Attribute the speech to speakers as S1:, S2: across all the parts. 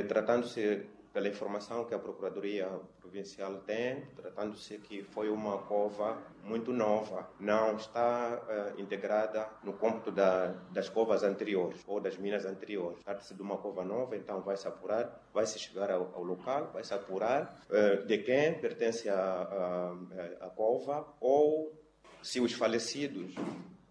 S1: Tratando-se pela informação que a Procuradoria Provincial tem, tratando-se que foi uma cova muito nova, não está integrada no cômputo das covas anteriores ou das minas anteriores. Trata-se de uma cova nova, então vai-se apurar, vai-se chegar ao local, vai-se apurar de quem pertence a cova ou se os falecidos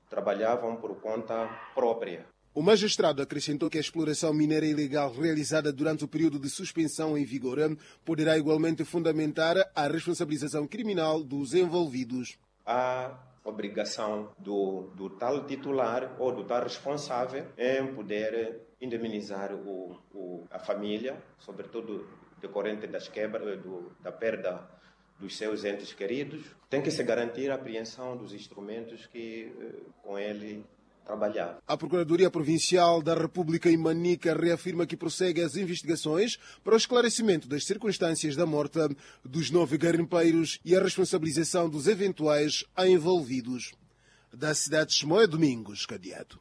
S1: trabalhavam por conta própria.
S2: O magistrado acrescentou que a exploração mineira ilegal realizada durante o período de suspensão em vigor poderá igualmente fundamentar a responsabilização criminal dos envolvidos.
S1: A obrigação do tal titular ou do tal responsável em poder indemnizar a família, sobretudo decorrente das quebras, da perda dos seus entes queridos. Tem que se garantir a apreensão dos instrumentos que com ele trabalhar.
S2: A Procuradoria Provincial da República em Manica reafirma que prossegue as investigações para o esclarecimento das circunstâncias da morte dos 9 garimpeiros e a responsabilização dos eventuais envolvidos. Da cidade de Chimoio, Domingos Cadiato.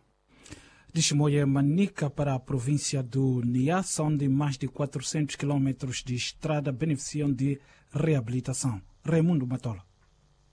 S3: De Chimoio, Manica, para a província do Niassa, onde mais de 400 quilômetros de estrada beneficiam de reabilitação. Raimundo Matola.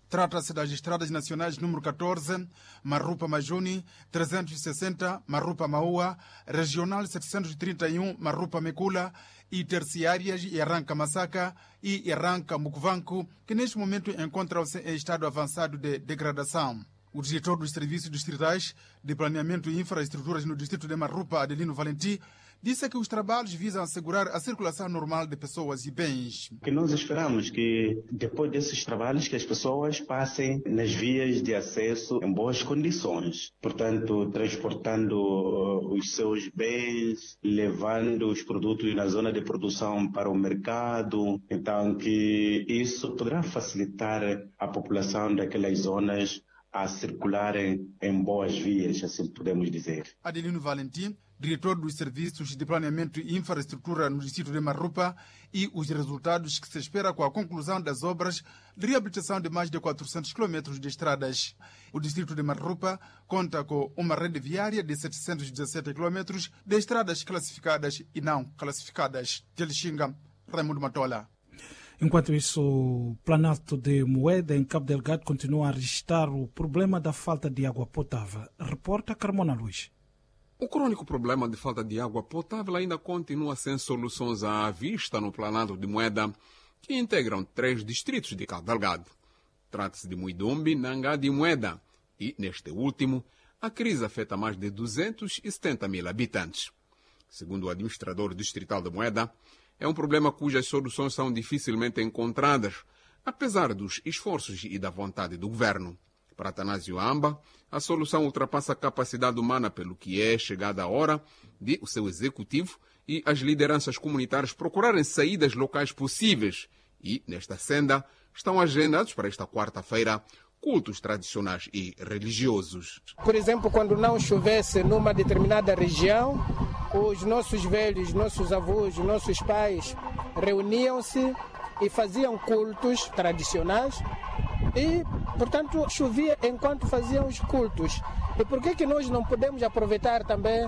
S4: Trata-se das estradas nacionais número 14, Marrupa Majuni, 360, Marrupa Maua, Regional 731, Marrupa Mecula e terciárias Arranca Massaca e Arranca Mucuvanco, que neste momento encontram-se em estado avançado de degradação. O diretor dos Serviços Distritais de Planeamento e Infraestruturas no distrito de Marrupa, Adelino Valenti, disse que os trabalhos visam assegurar a circulação normal de pessoas e bens.
S5: O que nós esperamos que depois desses trabalhos que as pessoas passem nas vias de acesso em boas condições, portanto, transportando os seus bens, levando os produtos na zona de produção para o mercado, então que isso poderá facilitar a população daquelas zonas a circularem em boas vias, assim podemos dizer.
S4: Adelino Valentim, diretor dos Serviços de Planeamento e Infraestrutura no distrito de Marrupa, e os resultados que se espera com a conclusão das obras de reabilitação de mais de 400 quilômetros de estradas. O distrito de Marrupa conta com uma rede viária de 717 quilômetros de estradas classificadas e não classificadas. De Lixinga, Raimundo Matola.
S3: Enquanto isso, o Planalto de Moeda, em Cabo Delgado, continua a registrar o problema da falta de água potável. Reporta Carmona Luiz.
S6: O crônico problema de falta de água potável ainda continua sem soluções à vista no Planalto de Moeda, que integram 3 distritos de Cabo Delgado. Trata-se de Muidumbe, Nangade e Moeda. E, neste último, a crise afeta mais de 270 mil habitantes. Segundo o administrador distrital de Moeda, é um problema cujas soluções são dificilmente encontradas, apesar dos esforços e da vontade do governo. Para Atanásio Amba, a solução ultrapassa a capacidade humana, pelo que é chegada a hora de o seu executivo e as lideranças comunitárias procurarem saídas locais possíveis. E, nesta senda, estão agendados para esta quarta-feira cultos tradicionais e religiosos.
S7: Por exemplo, quando não chovesse numa determinada região, os nossos velhos, nossos avós, nossos pais reuniam-se e faziam cultos tradicionais e, portanto, chovia enquanto faziam os cultos. E por que que nós não podemos aproveitar também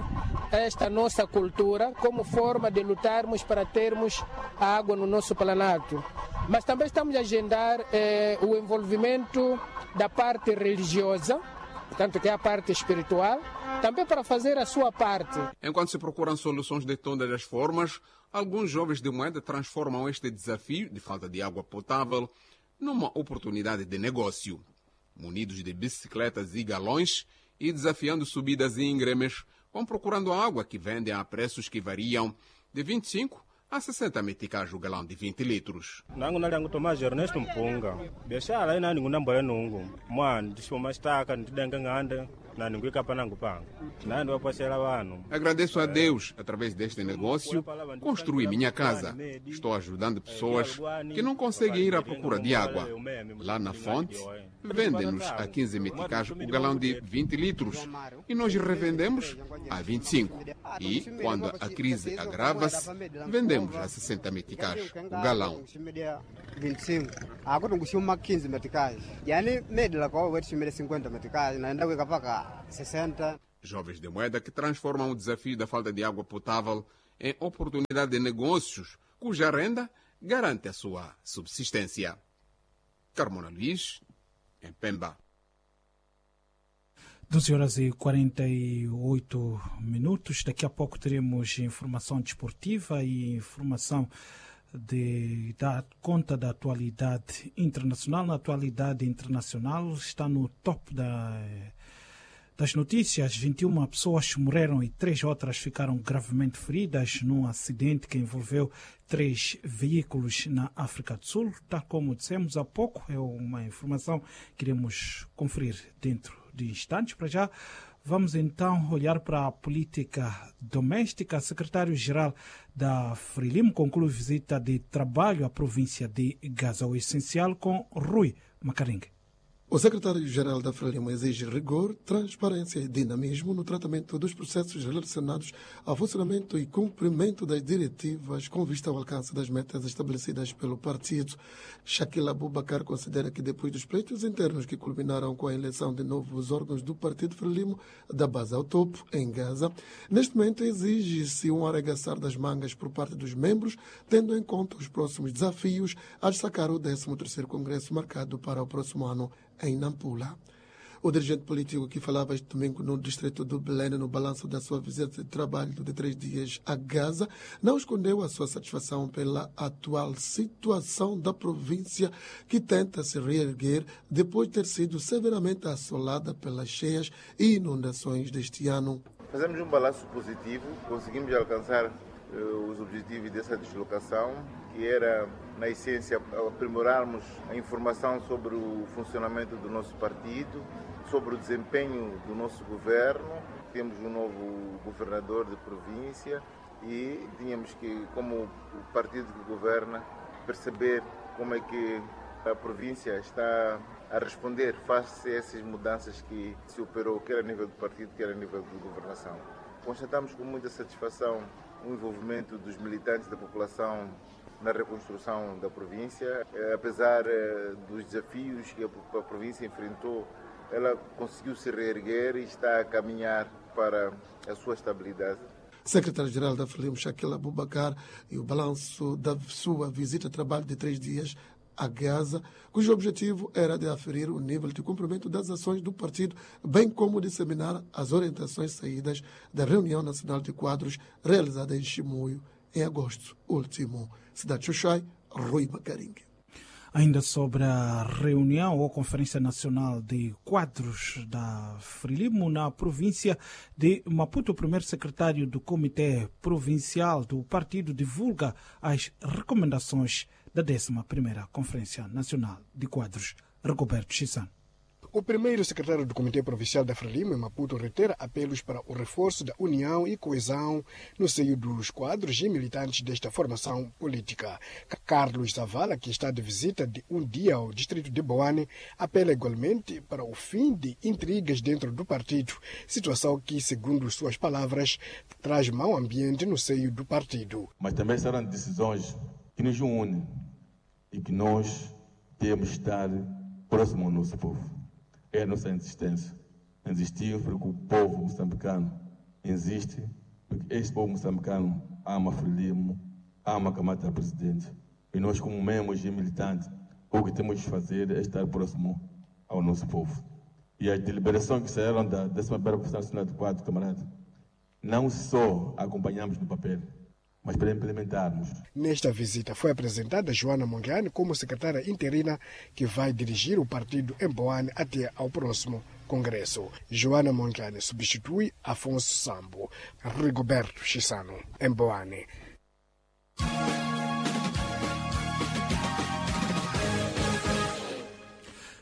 S7: esta nossa cultura como forma de lutarmos para termos a água no nosso planalto? Mas também estamos a agendar o envolvimento da parte religiosa, portanto, que é a parte espiritual, também para fazer a sua parte.
S6: Enquanto se procuram soluções de todas as formas, alguns jovens de Moeda transformam este desafio de falta de água potável numa oportunidade de negócio. Munidos de bicicletas e galões e desafiando subidas íngremes, vão procurando água que vendem a preços que variam de 25 a 60 meticais o galão de 20 litros.
S8: Nangu nali Tomás Ernesto Mpunga. Biashara ina ningu nambole nungu. Mwana ndishoma shtaka ndidenga ngande na ningu ikapa nangu panga. Nandi waposhela wanu.
S6: Agradeço a Deus, através deste negócio, construí minha casa. Estou ajudando pessoas que não conseguem ir à procura de água. Lá na fonte, vendem-nos a 15 meticais o galão de 20 litros e nós revendemos a 25. E, quando a crise agrava-se, vendemos a 60 meticais o galão.
S9: 25. Agora 15 meticais. Yani 50 meticais, 60.
S6: Jovens de Moeda que transformam o desafio da falta de água potável em oportunidade de negócios, cuja renda garante a sua subsistência. Carmona Luís, em Pemba.
S3: 12h48. Daqui a pouco teremos informação desportiva e informação de dar conta da atualidade internacional. Na atualidade internacional está no top das notícias. 21 pessoas morreram e 3 outras ficaram gravemente feridas num acidente que envolveu 3 veículos na África do Sul. Tal como dissemos há pouco, é uma informação que iremos conferir dentro de instantes. Para já, vamos então olhar para a política doméstica. Secretário-geral da Frelimo conclui visita de trabalho à província de Gaza, o essencial, com Rui Macaringue.
S10: O secretário-geral da Frelimo exige rigor, transparência e dinamismo no tratamento dos processos relacionados ao funcionamento e cumprimento das diretivas com vista ao alcance das metas estabelecidas pelo partido. Shaquille Abubacar considera que depois dos pleitos internos que culminaram com a eleição de novos órgãos do partido Frelimo, da base ao topo, em Gaza, neste momento exige-se um arregaçar das mangas por parte dos membros, tendo em conta os próximos desafios a destacar o 13º Congresso marcado para o próximo ano em Nampula. O dirigente político que falava este domingo no distrito do Belém, no balanço da sua visita de trabalho de 3 dias a Gaza, não escondeu a sua satisfação pela atual situação da província, que tenta se reerguer depois de ter sido severamente assolada pelas cheias e inundações deste ano.
S11: Fazemos um balanço positivo, conseguimos alcançar os objetivos dessa deslocação, que era, na essência, aprimorarmos a informação sobre o funcionamento do nosso partido, sobre o desempenho do nosso governo. Temos um novo governador de província e tínhamos que, como o partido que governa, perceber como é que a província está a responder face a essas mudanças que se operou, quer a nível do partido, quer a nível de governação. Constatamos com muita satisfação o envolvimento dos militantes da população na reconstrução da província. Apesar dos desafios que a província enfrentou, ela conseguiu se reerguer e está a caminhar para a sua estabilidade.
S10: Secretário-geral da Frelimo, Shaquille Abubacar, e o balanço da sua visita a trabalho de 3 dias a Gaza, cujo objetivo era de aferir o nível de cumprimento das ações do partido, bem como disseminar as orientações saídas da Reunião Nacional de Quadros realizada em Chimoio em agosto último. Cidade de Xoxai, Rui Macaringue.
S3: Ainda sobre a reunião ou Conferência Nacional de Quadros da Frelimo na província de Maputo, o primeiro secretário do Comitê Provincial do partido divulga as recomendações da 11ª Conferência Nacional de Quadros. Roberto Chissan.
S12: O primeiro secretário do Comitê Provincial da Frelimo, em Maputo, reitera apelos para o reforço da união e coesão no seio dos quadros e militantes desta formação política. Carlos Zavala, que está de visita de um dia ao distrito de Boane, apela igualmente para o fim de intrigas dentro do partido, situação que, segundo suas palavras, traz mau ambiente no seio do partido.
S13: Mas também serão decisões que nos unem e que nós temos de estar próximo ao nosso povo. É a nossa insistência. Insistir porque o povo moçambicano insiste, porque este povo moçambicano ama Frelimo, ama Kamata presidente. E nós, como membros e militantes, o que temos de fazer é estar próximo ao nosso povo. E as deliberações que saíram da 11ª Conferência Nacional de Quadros, camarada, não só acompanhamos no papel, mas para implementarmos.
S12: Nesta visita foi apresentada Joana Mongiane como secretária interina que vai dirigir o partido em Boane até ao próximo congresso. Joana Mongiane substitui Afonso Sambo. Rigoberto Chissano, em Boane.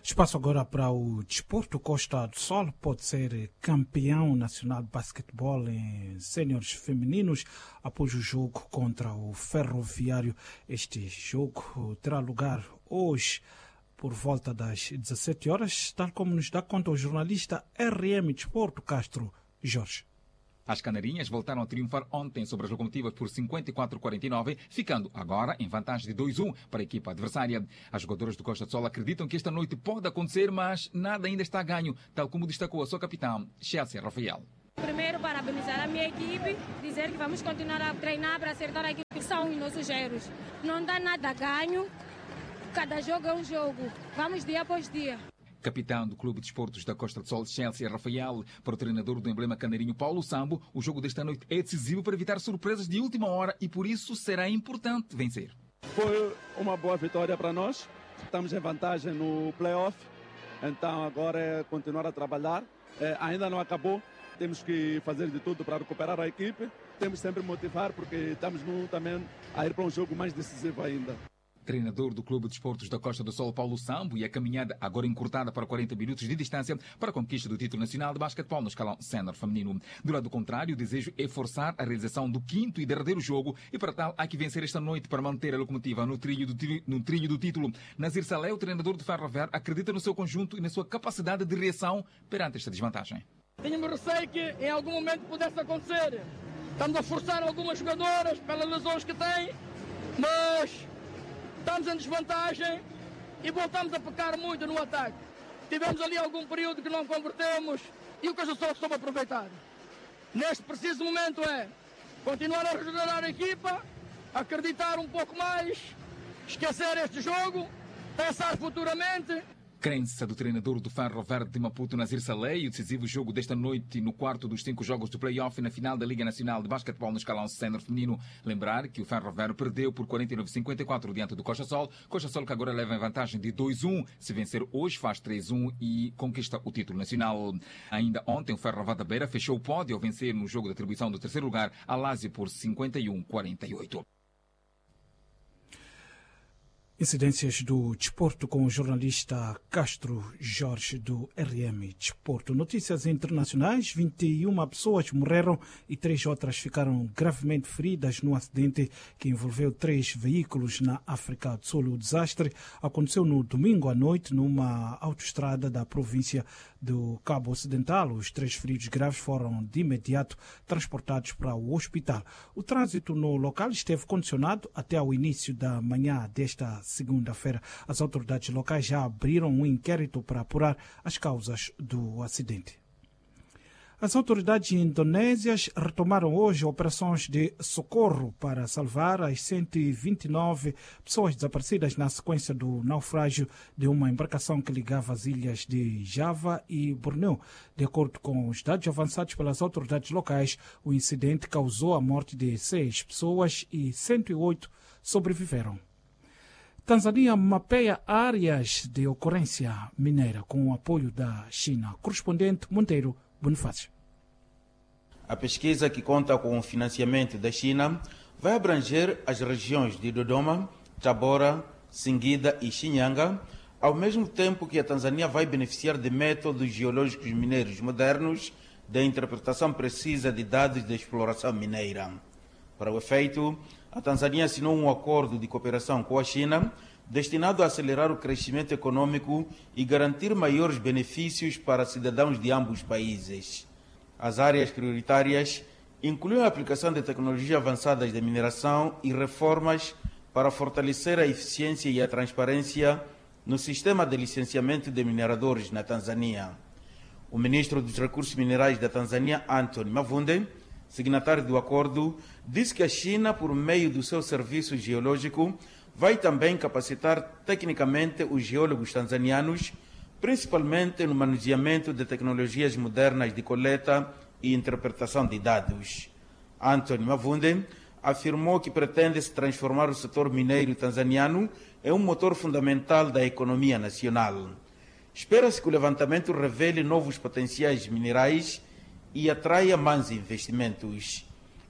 S3: Espaço agora para o desporto. Costa do Sol pode ser campeão nacional de basquetebol em séniores femininos após o jogo contra o Ferroviário. Este jogo terá lugar hoje por volta das 17 horas, tal como nos dá conta o jornalista RM Desporto Castro Jorge.
S14: As Canarinhas voltaram a triunfar ontem sobre as locomotivas por 54-49, ficando agora em vantagem de 2-1 para a equipa adversária. As jogadoras do Costa do Sol acreditam que esta noite pode acontecer, mas nada ainda está a ganho, tal como destacou a sua capitã, Chelsea Rafael.
S15: Primeiro, parabenizar a minha equipe, dizer que vamos continuar a treinar para acertar aquilo que são os nossos erros. Não dá nada ganho, cada jogo é um jogo. Vamos dia após dia.
S14: Capitão do Clube de Esportes da Costa do Sol, Chelsea Rafael, para o treinador do emblema canarinho Paulo Sambo, o jogo desta noite é decisivo para evitar surpresas de última hora e por isso será importante vencer.
S16: Foi uma boa vitória para nós, estamos em vantagem no play-off, então agora é continuar a trabalhar. Ainda não acabou, temos que fazer de tudo para recuperar a equipe, temos sempre motivar porque estamos também a ir para um jogo mais decisivo ainda.
S14: Treinador do Clube de Esportes da Costa do Sol, Paulo Sambo, e a caminhada agora encurtada para 40 minutos de distância para a conquista do título nacional de basquetebol no escalão sénior feminino. Do lado contrário, o desejo é forçar a realização do quinto e derradeiro jogo e para tal há que vencer esta noite para manter a locomotiva no trilho do título. Nazir Saleh, o treinador do Ferroviário, acredita no seu conjunto e na sua capacidade de reação perante esta desvantagem.
S17: Tínhamos receio que em algum momento pudesse acontecer. Estamos a forçar algumas jogadoras pelas lesões que têm, mas estamos em desvantagem e voltamos a pecar muito no ataque. Tivemos ali algum período que não convertemos e o Costa do Sol soube aproveitar. Neste preciso momento é continuar a regenerar a equipa, acreditar um pouco mais, esquecer este jogo, pensar futuramente.
S14: Crença do treinador do Ferro Verde de Maputo, Nazir Saleh, e o decisivo jogo desta noite no quarto dos 5 jogos do play-off na final da Liga Nacional de Basquetebol no escalão sénior feminino. Lembrar que o Ferro Verde perdeu por 49-54 diante do Costa Sol. Costa Sol que agora leva em vantagem de 2-1. Se vencer hoje faz 3-1 e conquista o título nacional. Ainda ontem o Ferro Verde da Beira fechou o pódio ao vencer no jogo de atribuição do terceiro lugar a Lazio por 51-48.
S3: Incidências do desporto com o jornalista Castro Jorge do RM Desporto. Notícias internacionais: 21 pessoas morreram e 3 outras ficaram gravemente feridas num acidente que envolveu 3 veículos na África do Sul. O desastre aconteceu no domingo à noite numa autoestrada da província do Cabo Ocidental. Os 3 feridos graves foram de imediato transportados para o hospital. O trânsito no local esteve condicionado até ao início da manhã desta segunda-feira. As autoridades locais já abriram um inquérito para apurar as causas do acidente. As autoridades indonésias retomaram hoje operações de socorro para salvar as 129 pessoas desaparecidas na sequência do naufrágio de uma embarcação que ligava as ilhas de Java e Borneo. De acordo com os dados avançados pelas autoridades locais, o incidente causou a morte de 6 pessoas e 108 sobreviveram. Tanzânia mapeia áreas de ocorrência mineira com o apoio da China. Correspondente Monteiro Bonifácio.
S18: A pesquisa, que conta com o financiamento da China, vai abranger as regiões de Dodoma, Tabora, Singida e Shinyanga, ao mesmo tempo que a Tanzânia vai beneficiar de métodos geológicos mineiros modernos da interpretação precisa de dados de exploração mineira. Para o efeito, a Tanzânia assinou um acordo de cooperação com a China destinado a acelerar o crescimento econômico e garantir maiores benefícios para cidadãos de ambos países. As áreas prioritárias incluem a aplicação de tecnologias avançadas de mineração e reformas para fortalecer a eficiência e a transparência no sistema de licenciamento de mineradores na Tanzânia. O ministro dos Recursos Minerais da Tanzânia, Anthony Mavunde, signatário do acordo, disse que a China, por meio do seu serviço geológico, vai também capacitar tecnicamente os geólogos tanzanianos, principalmente no manuseamento de tecnologias modernas de coleta e interpretação de dados. Anthony Mavunde afirmou que pretende-se transformar o setor mineiro tanzaniano em um motor fundamental da economia nacional. Espera-se que o levantamento revele novos potenciais minerais e atraia mais investimentos.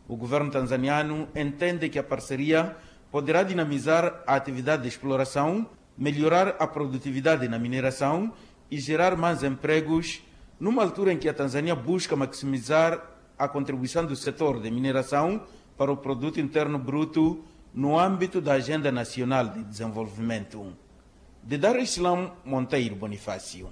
S18: O governo tanzaniano entende que a parceria poderá dinamizar a atividade de exploração, melhorar a produtividade na mineração e gerar mais empregos, numa altura em que a Tanzânia busca maximizar a contribuição do setor de mineração para o produto interno bruto no âmbito da Agenda Nacional de Desenvolvimento. De Dar es Salaam, Monteiro Bonifácio.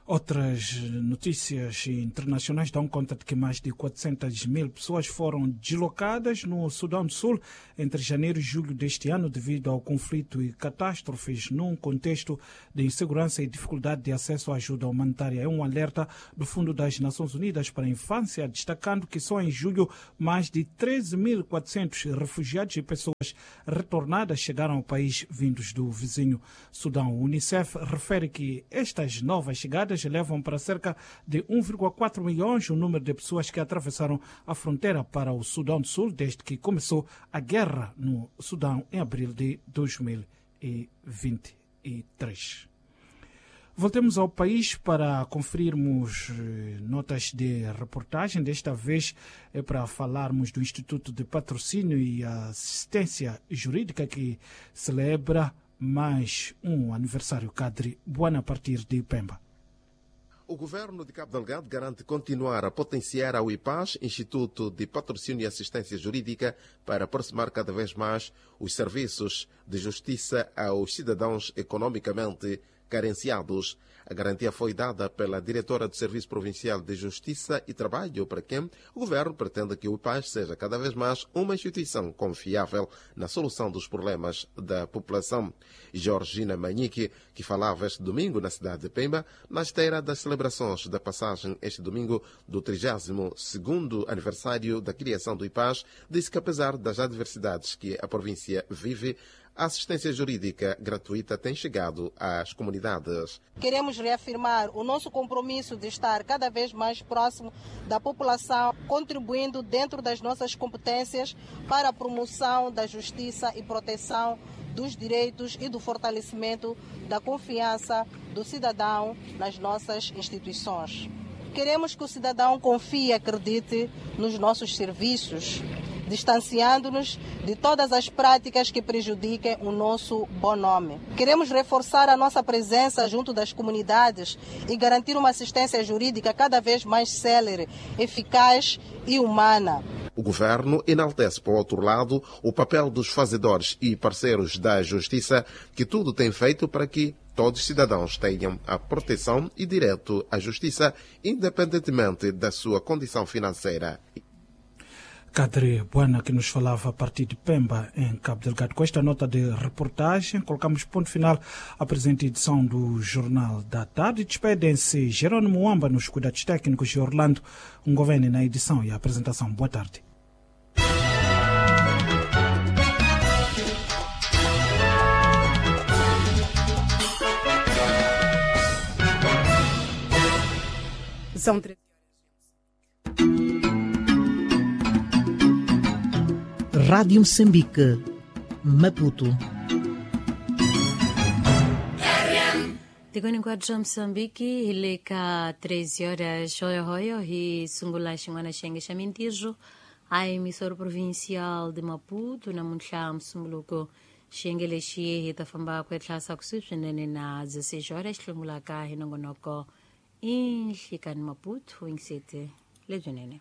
S3: Outras notícias internacionais dão conta de que mais de 400 mil pessoas foram deslocadas no Sudão do Sul entre janeiro e julho deste ano devido ao conflito e catástrofes num contexto de insegurança e dificuldade de acesso à ajuda humanitária. É um alerta do Fundo das Nações Unidas para a Infância, destacando que só em julho mais de 13.400 refugiados e pessoas retornadas chegaram ao país vindos do vizinho Sudão. O Unicef refere que estas novas chegadas levam para cerca de 1,4 milhões o número de pessoas que atravessaram a fronteira para o Sudão do Sul desde que começou a guerra no Sudão em abril de 2023. Voltemos ao país para conferirmos notas de reportagem. Desta vez é para falarmos do Instituto de Patrocínio e Assistência Jurídica, que celebra mais um aniversário. Cadre Buana, a partir de Pemba.
S19: O governo de Cabo Delgado garante continuar a potenciar a UIPAS, Instituto de Patrocínio e Assistência Jurídica, para aproximar cada vez mais os serviços de justiça aos cidadãos economicamente carenciados. A garantia foi dada pela diretora do Serviço Provincial de Justiça e Trabalho, para quem o governo pretende que o IPAS seja cada vez mais uma instituição confiável na solução dos problemas da população. Georgina Manique, que falava este domingo na cidade de Pemba, na esteira das celebrações da passagem este domingo do 32º aniversário da criação do IPAS, disse que apesar das adversidades que a província vive, a assistência jurídica gratuita tem chegado às comunidades.
S20: Queremos reafirmar o nosso compromisso de estar cada vez mais próximo da população, contribuindo dentro das nossas competências para a promoção da justiça e proteção dos direitos e do fortalecimento da confiança do cidadão nas nossas instituições. Queremos que o cidadão confie e acredite nos nossos serviços, distanciando-nos de todas as práticas que prejudiquem o nosso bom nome. Queremos reforçar a nossa presença junto das comunidades e garantir uma assistência jurídica cada vez mais célere, eficaz e humana.
S19: O governo enaltece, por outro lado, o papel dos fazedores e parceiros da justiça, que tudo tem feito para que todos os cidadãos tenham a proteção e direito à justiça, independentemente da sua condição financeira.
S3: Cadre Buana, que nos falava a partir de Pemba, em Cabo Delgado. Com esta nota de reportagem, colocamos ponto final à presente edição do Jornal da Tarde. Despedem-se Jerônimo Amba nos cuidados técnicos e Orlando Ngovene na edição e a apresentação. Boa tarde.
S21: São 3. Rádio Moçambique, Maputo.
S22: Tikoni kwa Msambiki hi ka 13 horas hoyo hi sungula xin'wana xiyenge xa mintirho a emissora provincial de Maputo namuntlha Msumbuluko. Xiyenge lexi hi ta famba ku etlhasa kusuhi swinene na 16 horas hlungulaka hi nongonoko i nhlikani Maputo yingisete lebyinene.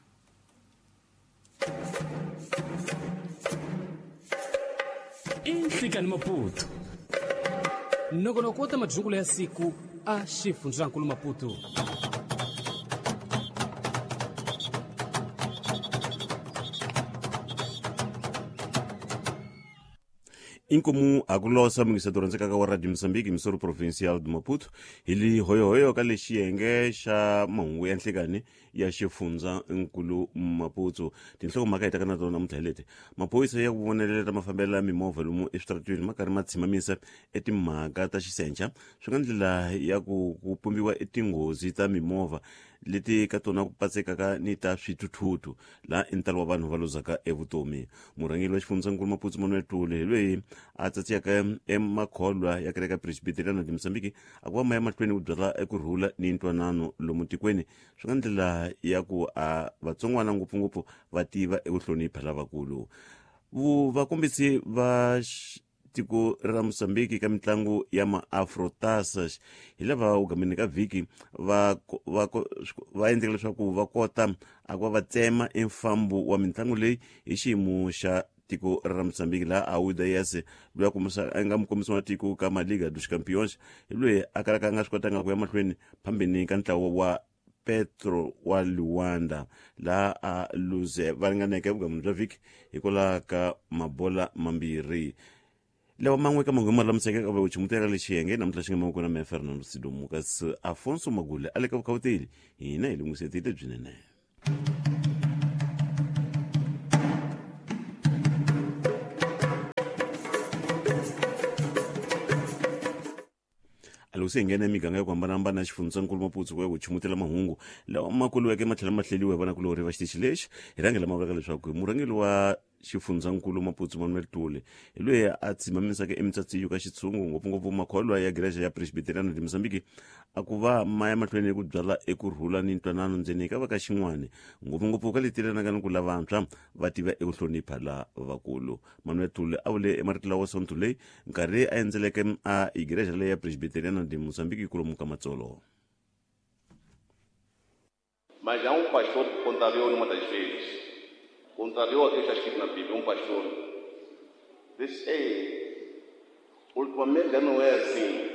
S23: Inhlikani Maputo nongonoko ta madzukulo ya siku a xifundzankulu Maputo.
S24: Inkomu akulosa mungiseto rhandzekaka wa Radio Mozambique misoro provincial de Maputo hi li hoyohoyo ka lexi xiyenge xa mahungu ya nhlikani ya xifundza nkulu Maputo. Tinhlokomhaka hi taka na tona namuntlha hi leti: maphorisa ya ku vonelela mafambelo ya mimovha lomu eswitarateni ma karhi ma tshimamisa etimhaka ta xisencha, swi nga ndlela ya ku pumbiwa etinghozi ta mimovha leti ka tona ku patsekaka ni ta swithuthuthu laha i ntalo wa vanhu va luzaka evutomi. Murhangeri wa xifundzankulu Maputo Manuel Tule hi loyi a tsatsiyaka emakholwa ya kereke ya Presbyterian de Mozambique a ku va ma ya mahlweni ku byala ekurhula ni ntwanano lomu tikweni, swi nga ndlela ya ku a vatsongwana ngopfungopfu va tiva eku hlonipha lavakulu. Vakombisi va tiko ra Mozambique ka mitlangu ya maafrotasas hi lava ugameni ka vhiki va endleka leswaku va kota a ku va va tsema emfambo wa mitlangu leyi hi xiyimo xa tiko ra Mozambique laha Auda Yese loyi a nga mukombisi wa tiko ka Maliga dos Campeões hi loyi a kalaka a nga swi kotanga ku ya mahlweni phambeni ka ntlawa wa Petro wa Luanda laha a luze va ringaneke vugamuni bya vhiki hikwalaho ka mabola mambirhi. Lawa man'we ka manghoma lama seke ka vuchimutela lexi yenge namuntlha xi nga mavoko na meya Fernando Sidomu, kasi Afonso Magule a le ka vukhawuteli, hina hi lungisetile byinene. Loko se hi nghena emiganga ya ku hambanahambana ya xifundzankulu Maputo ku ya ku chumutela mahungu lawa ma koliweke ma tlhela ma hleliwa hi vanakulorhi va xitichi lexi, hi rhangela ma vulaka leswaku murhangeri wa xifundzankulu Maputo Manuel Tule hi loyi a tshimamisaka emitsatsi ka xitshungu, ngopfungopfu makholwa ya gereja ya Presbyteriana de Mozambique, a ku va ma ya mahlweni ku byala ekurhula ni ntwanano ndzeni ka va ka xin'wani, ngopfungopfu ka leti yelanaka ni ku lavantshwa va tiva eku hlonipha la vakulu. Manuel Tule a vule emarito lawa sonto leyi nkarhi a endzeleke a igereja leyi ya Presbyteriana de Mozambique kulomu ka Matsolo.
S1: Mas há um pastor que contrariou numa das vezes. Contrariou aquilo que está escrito na Bíblia. Um pastor disse: ei, ultimamente já não é assim.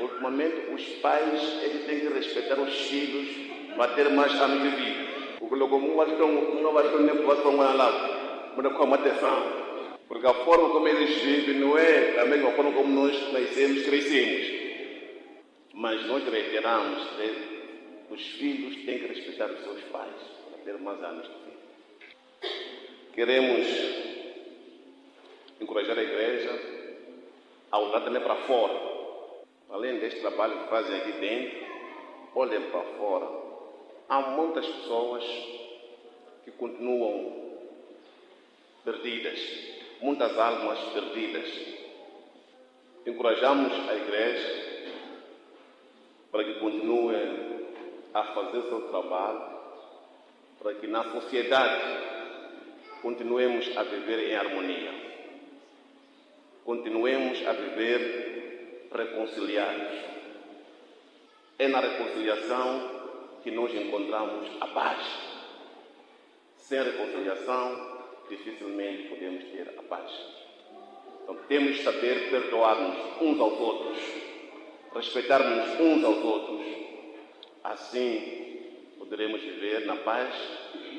S1: Ultimamente os pais eles têm que respeitar os filhos para ter mais anos de vida. Porque porque a forma como eles vivem não é a mesma forma como nós nascemos, crescemos. Mas nós reiteramos, os filhos têm que respeitar os seus pais para ter mais anos de vida. Queremos encorajar a igreja a olhar também para fora. Além deste trabalho que fazem aqui dentro, olhem para fora. Há muitas pessoas que continuam perdidas, muitas almas perdidas. Encorajamos a igreja para que continue a fazer seu trabalho, para que na sociedade continuemos a viver em harmonia, continuemos a viver reconciliados. É na reconciliação que nós encontramos a paz. Sem reconciliação, dificilmente podemos ter a paz. Então temos que saber perdoar-nos uns aos outros, respeitar-nos uns aos outros. Assim poderemos viver na paz,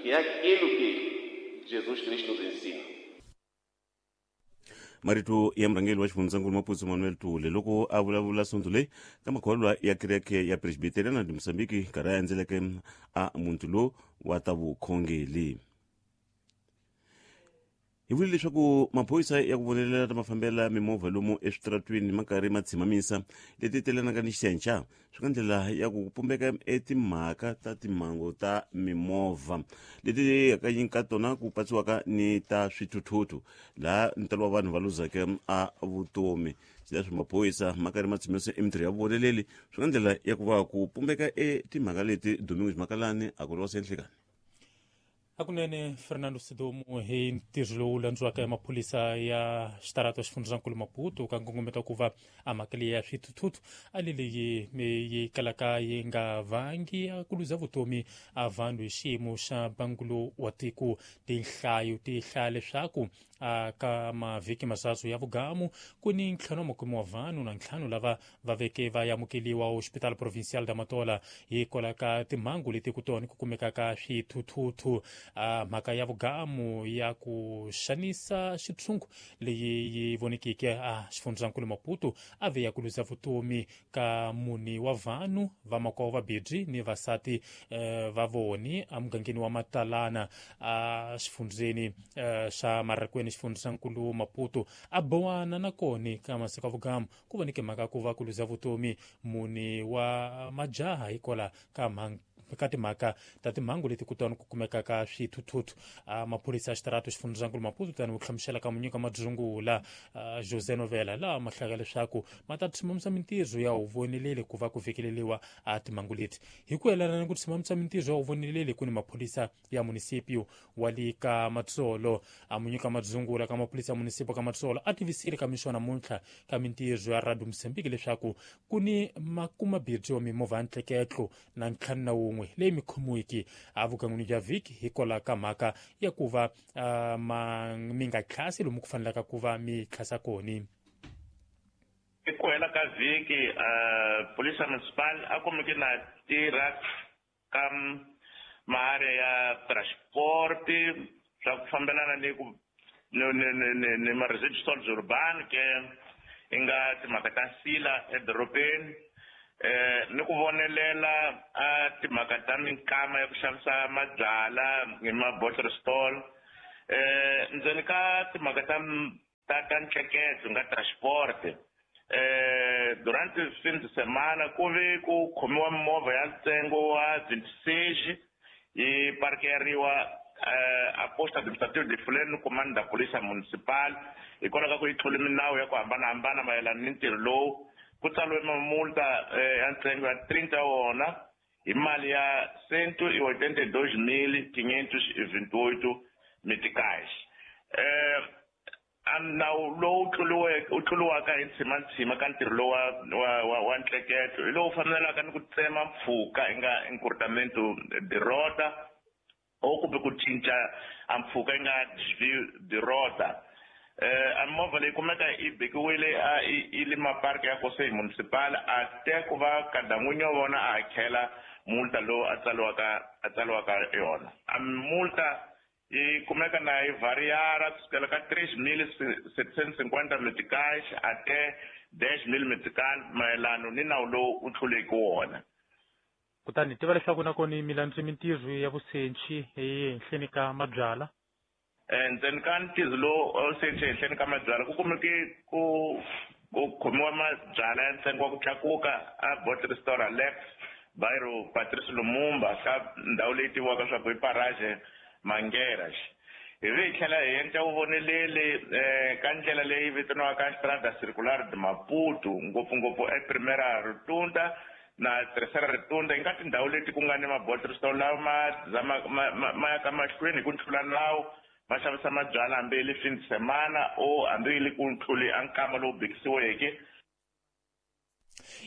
S1: que é aquilo que Jesus Cristo nos ensina.
S24: Marito ya murhangeri wa xifundzankulu Maputo Manuel Tule loko a vulavula sonto leyi ka makholwa ya kereke ya Presbyteriana de Mozambique nkarhi a endzeleke a muntu lowu wa ta vukhongeli. Hi vule leswaku maphorisa ya ku vonelela ta mafambela mimovha lomu eswitaratwini ma karhi ma tshimamisa leti telanaka ni xihenxa swi ka ndlela ya ku pumbeka etimhaka ta timhangu ta mimovha leti hakanyingi ka tona ku patsiwaka ni ta swithuthuthu laha ntalo wa vanhu va luzeke a vutomi. Leswi maphorisa ma karhi ma tshimisa emintirho ya vuvoneleli swi ka ndlela ya ku va ku pumbeka etimhaka leti. Domingos Makalani a ku losa enhlekani.
S2: Hakunene Fernando Sidomu hi ntirho lowu landziwaka ya maphorisa ya xitarato xifundzankulu Maputo ka nkongometo ku va a mhaka leyi ya swithuthuthu a le leyi yi kalaka yi nga vangi a ku luza vutomi a vanhu hi xiyimo xa mbangulo wa tiko. Tinhlayo ti hlaya leswaku ka mavhiki masasu ya vugamu ku ni ntlhanu wa makume wa vanhu na ntlhanu lava va veke va amukeliwa Hospital Provincial da Matola hikwalaho ka timhangu leti ku tona ku kumekaka swithuthuthu. Mhaka ya vugamu ya ku xanisa xitshungu leyi yi vonekeke a xifundzankulu Maputo a ve ya ku luza vutomi ka muni wa vanhu vamakwavo vabirhi ni vasati va voni emugangeni wa Matalana a xifundzeni xa Marikweni xifundzankulu Maputo. A bowana na koni ka masiku ya vugamu ku voneke mhaka ku va ku luza vutomi muni wa majaha hikwalaho ka mhaka ka timhaka ta timhangu leti kutani ku kumeka ka swithuthuthu. Maphorisa ya xitarato xifundzankulu Maputo tani ku hlamusela ka munyika madzungula José Novela laha ma hlaka leswaku ma ta tshimamisa mintirho ya huvoneleli ku va ku fikeleliwa a timhangu leti. Hi ku yelana ni ku tshimamisa mintirho ya huvoneleli ku ni maphorisa ya munisipio wa le ka Matsolo. A munyika madzungula ka maphorisa ya munisipio ka Matsolo a tivisile ka mixo namuntlha ka mintirho ya Radio Mozambique leswaku ku ni makumabirhi wa mimovha ya ntleketlo na 51 wun'we leyi mi khomiwiki evugan'wini bya vhiki hikwalaho ka mhaka ya ku va mi nga tlhasi lomu ku fanelaka ku va mi tlhasa kona.
S4: I ku hela ka vhiki polisa municipal a kumeke na tirha ka maarea ya transport swa ku fambelana ni ku ni ma-residuals urban ke i nga timhaka ta sila edorobeni ni ku vonelela a timhaka ta minkama ya ku xavisa mabyala hi ma-bottle stall ndzeni ka timhaka ta ntsheketo nga transport durante fin de semana ku ve ku khomiwa mimovha ya ntsengo wa 26 yi parkeriwa a posta administrative de Fuleni comando da polícia municipal hikwalaho ka ku yi tlule milawu ya ku hambanahambana mayelana ni ntirho lowu ku tsariwe mamulta ya ntsengo ya 30 wona hi mali ya 182.528 meticais. A nawu lowu wu tluliwaka hi ntshima ka ntirho lowu wa ntleketo hi lowu fanelaka ni ku tsema mpfhuka i nga encurtamento de rota o kumbe ku cinca a mpfhuka yi nga desvio de rota. A movha leyi kumeka yi bekiwile a yi le maparki ya Conselho Municipal a te ku va kada n'winyi wa vona a hakela multa lowu a tsaliwaka yona. A multa yi kumeka na yi variara kusukela ka 3.750 meticais ate 10.000 metical mayelano ni nawu lowu u tluleke wona.
S2: Kutani tiva leswaku nakona milandzu mintirho ya vusenchi ehenhleni ka mabyala.
S4: Ndzeni ka ntirho lowu vusenchi ehenhleni ka mabyala ku kumeke ku khomiwa mabyala ya ntsengo wa ku tlakuka a Bottle Store Alex Bairro Patrice Lumumba ka ndhawu leyi tiviwaka swa ku i Parage Mangueiras. Hi vi hi tlhela hi endla vuvoneleli ka ndlela leyi vitaniwaka Estrada Circular de Maputo ngopfungopfu ePrimeira Rotunda na Terceira Rotunda yi nga tindhawu leti ku nga ni ma-bottle store lawa ma ya ka mahlweni hi ku tlula nawu ma xavisa mabyala hambi yi le fin de semana o hambi yi le ku tluli a nkama lowu bekisiweke.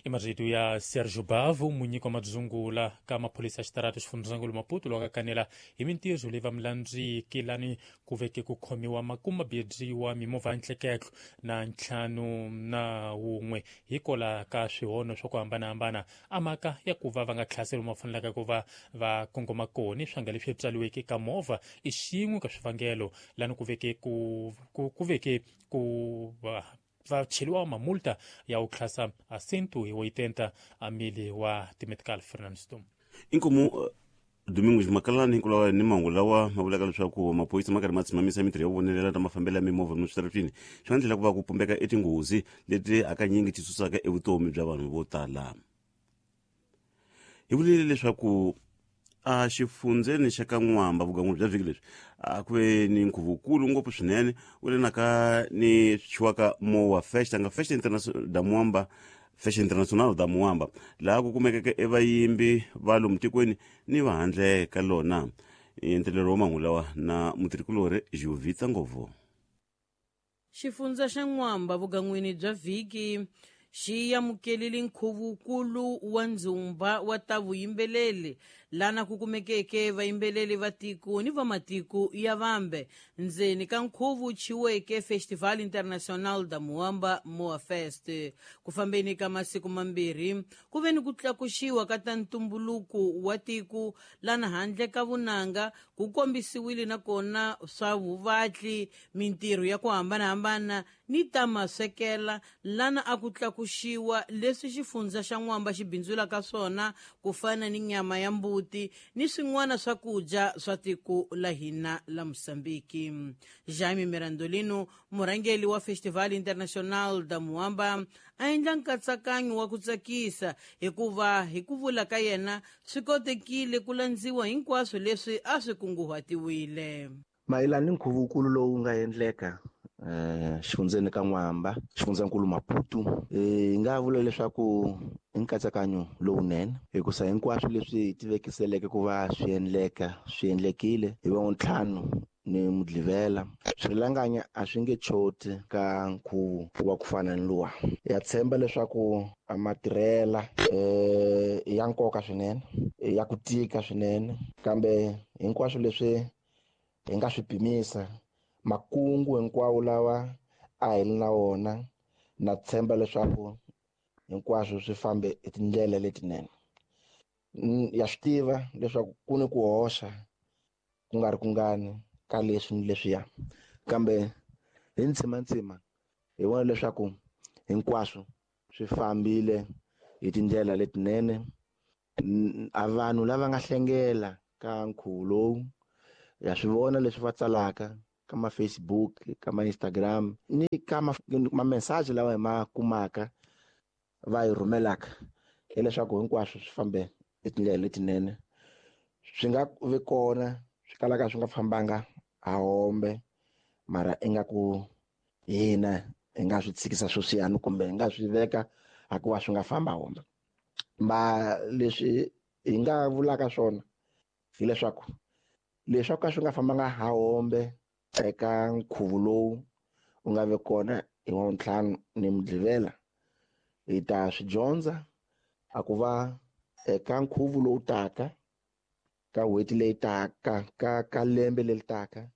S2: I marito ya Sergio Bavo munyiki wa madzungula ka maphorisa ya xitarata xifundzankulu Maputo lowu kanela hi mintirho leyi va milandziki lani ku veke ku khomiwa makumabirhi wa mimovha ya ntleketlo na 51 hikwalaho ka swihono swa ku hambanahambana a mhaka ya ku va va nga tlhaseli ma fanelaka ku va va kongoma kona swanga leswi tsaliweke ka movha i xin'we ka swivangelo lani ku veke ku veke ku va cheliwa mamulta ya u tlhasa a 180 mili wa timetical Fernando.
S24: Inkomu Domingos Makalani hinkulawa ni mahungu lawa ma vulaka leswaku maphorisa ma karhi ma tshimamisa mintirho ya vonelela ta mafambelo ya mimovha lomu switaratwini swi nga ndlela ku va ku pumbeka etinghozi leti hakanyingi ti susaka evutomi bya vanhu vo tala. Hi vulile leswaku a xifundzeni xa ka N'wamba vugan'wini bya vhiki leswi a ku ve ni nkhuvukulu ngopfu swinene wu le naka ni swiwaka Moa Fest nga Festa Internacional da Moamba Festa Internacional da Moamba laha ku kumekeke evayimbi va lomu tikweni ni va handle ka lona. Entelelo wa mahungu lawa na mutirhikulori Jovita Ngovo.
S5: Xifundza xa N'wamba vugan'wini bya vhiki xi amukelile nkhuvukulu wa ndzumba wa ta vuyimbeleli lana ku kumekeke vayimbeleli va tiko ni va matiko ya vambe ndzeni ka nkhuvu chiweke Festival Internacional da Moamba Moa Fest. Ku fambeni ka masiku mambirhi ku ve ni ku tlakuxiwa ka ta ntumbuluko wa tiko lana handle ka vunanga ku kombisiwile nakona swa vuvatli mintirho ya ku hambanahambana ni ta maswekela lana a ku tlakuxiwa leswi xifundza xa N'wamba xi bindzulaka swona ku fana ni nyama ya mbuti ni swin'wana swakudya swa tiko la hina la Mosambiki. Jaime Mirandolino murhangeri wa Festival Internacional da Moamba a endla nkatsakanyo wa ku tsakisa hikuva hi ku vula ka yena swi kotekile ku landziwa hinkwaswo leswi a swi kunguhatiwile.
S7: Mayelana ni nkhuvukulu lowu nga endleka xifundzeni ka N'wamba xifundzankulu Maputo hi nga vula leswaku i nkatsakanyo lowunene hikusa hinkwaswo leswi hi tivekiseleke ku va swi endleka swi endlekile hi va ntlhanu ni Mugqivela swirhilanganya a swi nge choti ka nkhuvo wa ku fana ni luwa. Ya tshemba leswaku a matirhela ya nkoka swinene, ya ku tika swinene, kambe hinkwaswo leswi hi nga swi pimisa, makungu hinkwawo lawa a hi ri na wona, na tshemba leswaku hinkwaswo swi fambe hi tindlela letinene. Ya swi tiva leswaku ku ni ku hoxa ku nga ri kungani ka leswi ni leswiya, kambe hi ntsimantsima hi vona leswaku hinkwaswo swi fambile hi tindlela letinene. A vanhu lava nga hlengela ka nkhuvo lowu ya swi vona leswi va tsalaka ka ma Facebook, ka ma Instagram ni ka ma message lawa hi ma kumaka va hi rhumelaka, hileswaku hinkwaswo swi fambe hi tindlela letinene. Swi nga vi kona swi kalaka swi nga fambanga hahombe, mara ingaku hina hi nga swi tshikisa sweswiyani kumbe hi nga swi veka hikuva swi nga famba hombe. Ma leswi hi nga vulaka swona hileswaku leswaku ka swi nga fambanga hahombe eka nkhuvo lowu wu nga vi kona hi Wavuntlhanu ni Mugqivela, hi ta swi dyondza a ku va eka nkhuvo lowu taka, ka n'hweti leyi taka, ka lembe leri taka,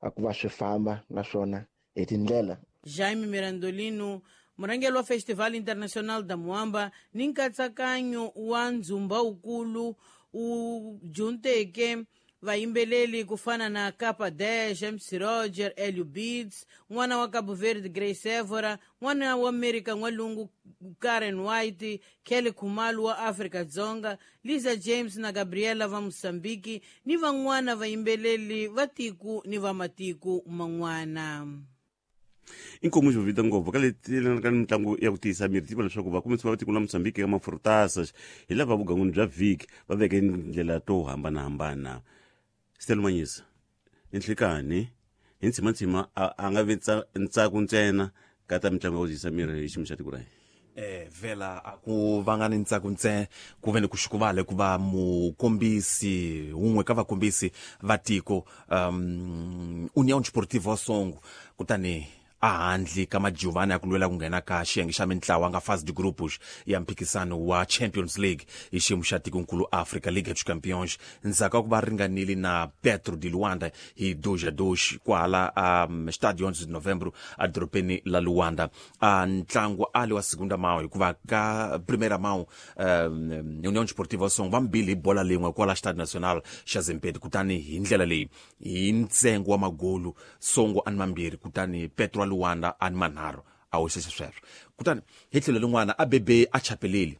S7: a ku va swi famba naswona hi tindlela.
S5: Jaime Mirandolino, murhangeri wa Festival Internacional da Moamba ni nkatsakanyo wa ndzumba wukulu wu junteke vayimbeleli ku fana na Capa 10, MC Roger, Elio Beats, n'wana wa Cabo Verde Grace Evora, n'wana wa America n'walungu Karen White, Kelly Khumalo wa Afrika Dzonga, Lisa James na Gabriela va Mozambique ni van'wana vayimbeleli va tiko ni va matiko man'wana.
S24: Inkomu xo vita ngopfu ka leti ka mitlangu ya ku tiyisa miri, tiva leswaku vakumisi va tiko la Mozambique ka mafurutasa hi lava vuganguni bya vhiki va veke ndlela to hambanahambana. Stelo Manyisa, nhlikani hi ntsimantsima a nga vi ntsako ntsena ka ta mitlangu ya ku tiyisa miri hi xiyimo xa tiko ra hina.
S6: Vela a ku vanga ni ntsako ntsena, ku ve ni ku xukuvala ku va mukombisi wun'we ka vakombisi va tiko União Desportiva wa Songo, kutani a handle ka majuvana ya ku lwela ku nghena ka xiyenge xa mintlawa nga fase de grupos ya mphikisano wa Champions League hi xiyimo xa tikonkulu Africa Liga dos Campeões, ndzhaku ka ku va ringanile na Petro de Luanda hi 2-2 kwala Estádio 11 de Novembro a dorobeni la Luanda. Ntlangu a li wa segunda mão, hikuva ka primeira mão União Desportiva Songo va mbili hi bola lin'we kwala Estádio Nacional xa Zimpeto, kutani hi ndlela leyi hi ntsengo wa magolu Songo a ni mambirhi, kutani Petro wa Luanda a ni manharhu, a hoxisa sweswo. Kutani hi tlhelo rin'wana a bebe a chapeleli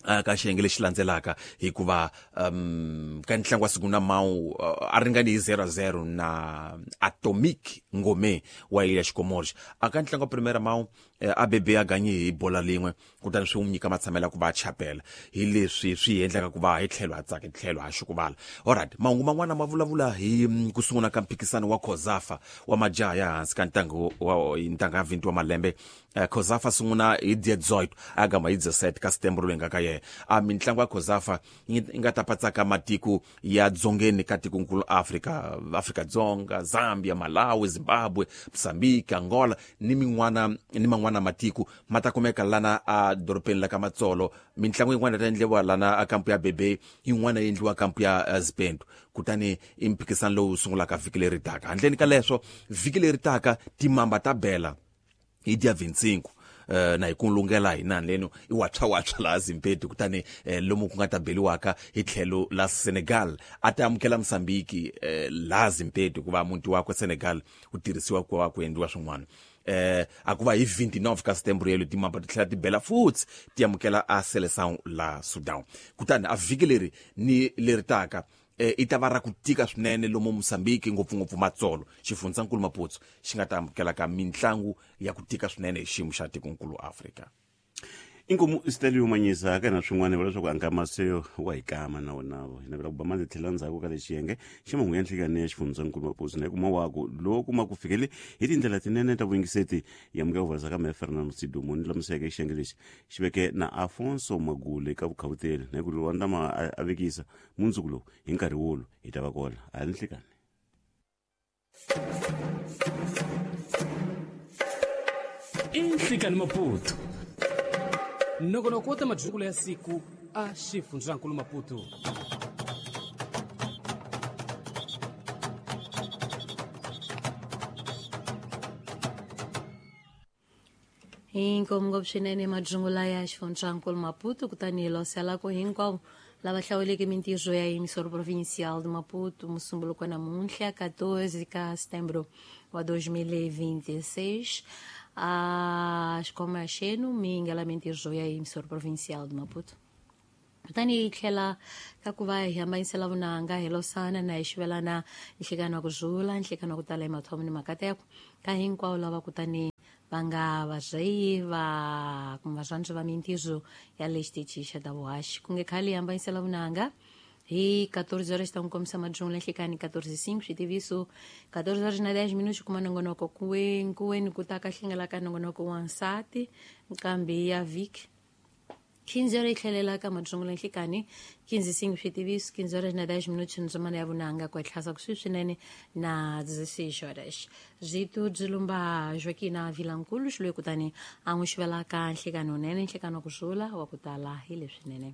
S6: ka xiyenge lexi landzelaka, hikuva ka ntlangu wa segunda mão a ringani hi 0-0 na Atomic Ngome wa Ilha Comores. A ka ntlangu wa primeira mão a bebe a ganyi hi bola lin'we, kutani swi n'wi nyika matshamelo ya ku va a chapela, hi leswi swi endlaka ku va hi tlhelo a tsaka hi tlhelo a xukuvala. Alright, mahungu man'wana ma vulavula hi ku sungula ka mphikisano wa COSAFA wa majaha ya hansi ka ntango wa ntanga ya 20 wa malembe. COSAFA sungula hi 18 a gama hi 17 ka Setembro leyi nga ka yena. A mitlangu ya COSAFA yi nga ta patsaka matiko ya dzongeni ka tikonkulu Afrika, Afrika Dzonga, Zambia, Malawi, Zimbabwe, Mozambique, Angola ni min'wana ni man'wana matiko ma ta kumeka lana a dorobeni la ka Matsolo. Mitlangu yin'wana ta endliwa lana a kampu ya Bebe, yin'wana yi endliwa kampu ya Zipendo, kutani i mphikisano lowu sungulaka vhiki leri taka. Handleni ka leswo, vhiki leri taka timamba ta bela hi dia 25 na hi ku lungela hina leno i watshwa laha Zimpeto, kutani lomu ku nga ta beliwaka hi tlhelo la Senegal a ta amukela Mozambique laha Zimpeto, hikuva muti wakwe Senegal wu tirhisiwa ku va ku endliwa swin'wana. A ku va hi 29 ka Setembro yelo timamba ti tlhela ti bela futhi ti amukela a Seleção la Sudan. Kutani a vhiki leri ni leri taka i ta va ra ku tika swinene lomu Mozambique, ngopfungopfu Matsolo, xifundzankulu Maputo xi nga ta amukela ka mitlangu ya ku tika swinene hi xiyimo xa tikonkulu Afrika.
S24: Inkomu Stelio Manyisa, ka na swin'wana va leswaku ankama se wa hi kama na wona hi navela ku ba mali tlhela ndzhaku ka lexi yenge xa mahungu ya nhlikani ya xifundzankulu Maputo na kuma waku loko ma ku fikele hi tindlela tinene ta vuyingiseti ya muka vuvasa ka meya Fernando Sidumo ni lamuseke xiyenge lexi xi veke na Afonso Magule ka vukhavuteli na ku Lwanda ma a vekisa mundzuku lowu hi nkarhi wolo hi ta va kona a nhlikani.
S23: Inhlikani Maputo nongonoko wa ta madyukulo ya siku a xifundzankulu Maputo.
S22: Inkomu ngopfu swinene madzungula ya xifundzankulu Maputo, kutani hi loselako hinkwavo lava hlawuleke mintirho ya emissora provincial de Maputo musumbuluko namuntlha 14 ka setembro wa 2026. A xikhoma xenu mi ngela mintirho ya emissora provincial de Maputo, kutani hi tlhela ka ku va hi hambanyisela vunanga hi losana na hi xivelana nhlekani wa ku zula nhlekani wa ku tala emathomo ni makateko ka hinkwavo lava kutani va nga vazeyi va kumbe varhandzi va mintirho ya le xitichi xa ta vuhaxi. Ku nge khale hi hambanyisela vunanga hi 14 horas ta n'wi kombisa madzungu lenhlekani 14:05 switiviso 14 horas na 10 minutos kuma nongonoko kuweni ku ta ka hlengela ka nongonoko wa nsati nkambi ya vhiki 15 horas yi tlhelela ka madzungu lenhlekani 15:05 switiviso 15 horas na 10 minutos ndzimana ya vunanga ku etlhasa kusuhi swinene na 16 horas byitu byi lumba Joaquina Vilankulu xiloyi kutani a n'wi xivelaka nhlekani wunene nhlekani wa ku zula wa ku tala hi leswinene.